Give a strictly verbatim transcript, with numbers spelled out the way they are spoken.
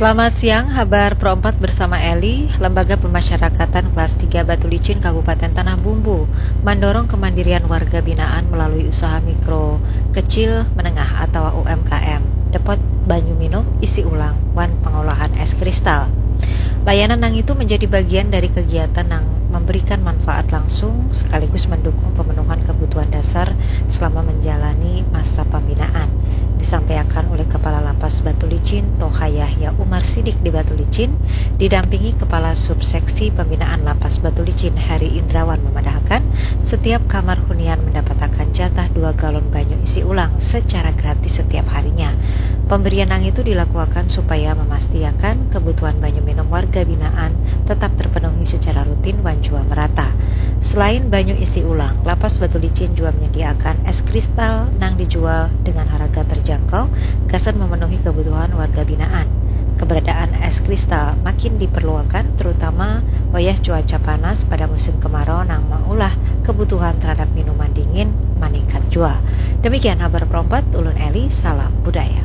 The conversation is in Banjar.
Selamat siang, habar Pro empat bersama Eli. Lembaga Pemasyarakatan Kelas tiga Batu Licin Kabupaten Tanah Bumbu mandorong kemandirian warga binaan melalui usaha mikro, kecil, menengah atau U M K M. Depot banyu minum isi ulang wan pengolahan es kristal. Layanan nang itu menjadi bagian dari kegiatan nang memberikan manfaat langsung sekaligus mendukung pemenuhan kebutuhan dasar selama menjalani masa pembinaan, disampaikan oleh Kepala Lapas Batu Licin, Toha Yahya Umar Sidik di Batu Licin, didampingi Kepala Subseksi Pembinaan Lapas Batu Licin, Heri Indrawan, memadahakan setiap kamar hunian mendapatakan jatah dua galon banyu isi ulang secara gratis setiap harinya. Pemberian nang itu dilakukan supaya memastiakan kebutuhan banyu minum warga binaan tetap terpenuhi secara rutin wan jua merata. Selain banyu isi ulang, Lapas Batu Licin jua menyediakan es kristal nang dijual dengan harga terjangkau gasan memenuhi kebutuhan warga binaan. Keberadaan es kristal makin diperluakan, terutama wayah cuaca panas pada musim kemarau nang maulah kebutuhan terhadap minuman dingin maningkat jua. Demikian habar Pro empat, ulun Eli, salam budaya.